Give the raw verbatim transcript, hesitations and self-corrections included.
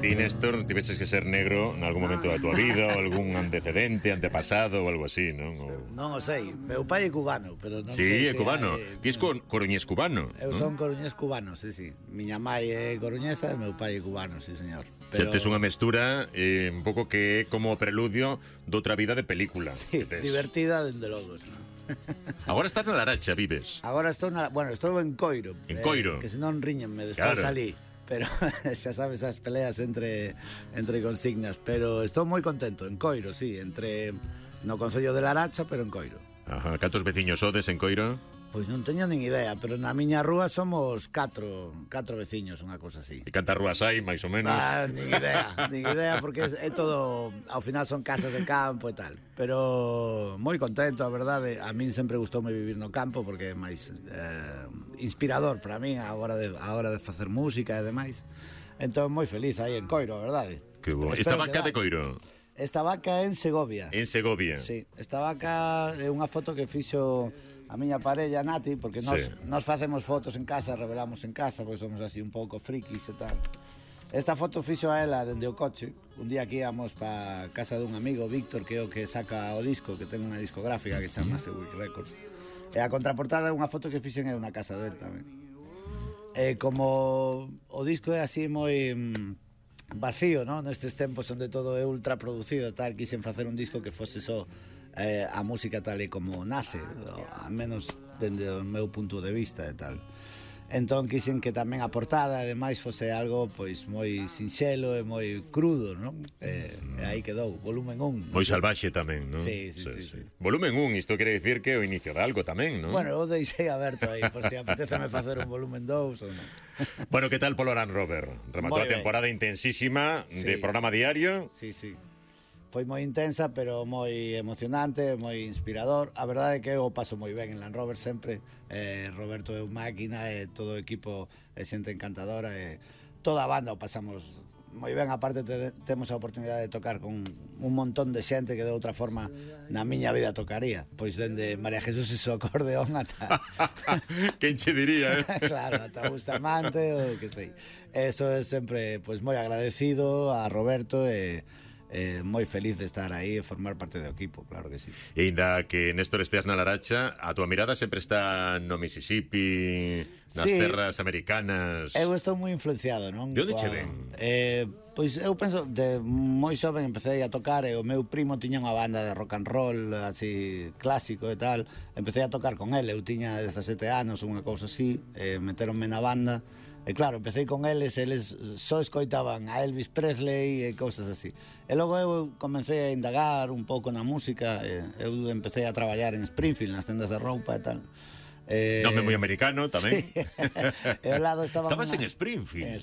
Ti, Néstor, tiveches que ser negro en algún momento da tua vida, ou algún antecedente, antepasado ou algo así, non? Ou... Non o sei, meu pai é cubano, pero non Sí, sei é se cubano. hai- Ti és co coruñés cubano, Eu non? son coruñés cubano, sí, sí. Miña mai é coruñesa e meu pai é cubano, sí, señor. Pero... tes unha mestura eh, un pouco que é como o preludio doutra vida de película. Sí, que tes. divertida, dende logo, ¿no? Agora estás na Laracha, vives. Agora estou na, bueno, estou en Coiro. En Coiro. Eh, que senón riñenme despois Claro. salí. Pero xa sabes as peleas entre entre consignas, pero estou moi contento en Coiro, sí, entre no concello de Laracha, pero en Coiro. Ajá, cantos veciños sodes en Coiro? Pois non teño nin idea, pero na miña rúa somos catro, catro veciños, unha cousa así. E cantas rúas hai, máis ou menos? Ah, nin idea, nin idea, porque é, é todo, ao final son casas de campo e tal. Pero moi contento, a verdade. A min sempre gustoume vivir no campo, porque é máis eh, inspirador para min a hora de, a hora de facer música e demais. Entón, moi feliz aí en Coiro, a verdade. Que bo. Espero Esta vaca que de Coiro? Esta vaca en Segovia. En Segovia. Sí, esta vaca é unha foto que fixo a miña parella Nati, porque nós, Sí. nós facemos fotos en casa, revelamos en casa, porque somos así un pouco frikis e tal. Esta foto fixo a ela dende o coche. Un día que íamos pa casa dun amigo, Víctor, que é o que saca o disco, que ten unha discográfica que chamase Week Records. E a contraportada é unha foto que fixen eu na casa del tamén. E como o disco é así moi mm, vacío, ¿no? Nestes tempos onde todo é ultra producido, tal, quixen facer un disco que fose só eh, a música tal e como nace, a menos dende o meu punto de vista e tal. Entón quixen que tamén a portada ademais fose algo pois moi sinxelo e moi crudo, non? E, e aí quedou, volumen un. Moi salvaxe tamén, non? Sí, sí, sí, sí. Volumen un, isto quere dicir que é o inicio de algo tamén, non? Bueno, eu deixei aberto aí, por se apeteceme facer un volumen dous ou non. Bueno, que tal polo Land Rover? Rematou Moi a ben. temporada intensísima Sí. de programa diario. Sí, sí. Foi moi intensa, pero moi emocionante, moi inspirador. A verdade é que eu o paso moi ben en Land Rover sempre. Eh, Roberto é un máquina e todo o equipo é xente encantadora e toda a banda o pasamos moi ben. Aparte te, temos a oportunidade de tocar con un montón de xente que de outra forma na miña vida tocaría. Pois dende María Jesús e su acordeón ata... Quen che diría, eh? Claro, ata Bustamante ou que sei. Eso é sempre pois moi agradecido a Roberto e eh, moi feliz de estar aí e formar parte do equipo, claro que sí. E ainda que Néstor esteas na Laracha, a tua mirada sempre está no Mississippi, nas Sí. terras americanas. Eu estou moi influenciado, non? De onde che Coa- ven? Eh, pois eu penso, de moi xoven empecé a tocar e o meu primo tiña unha banda de rock and roll así clásico e tal. Empecé a tocar con ele, eu tiña dezasete anos, unha cousa así, e meteronme na banda. E claro, empecé con eles, eles só escoitaban a Elvis Presley e cousas así. E logo eu comecei a indagar un pouco na música, e eu empecé a traballar en Springfield, nas tendas de roupa e tal. Eh, Nome moi americano tamén. Sí. E ao lado estaba Estabas unha- en Springfield. En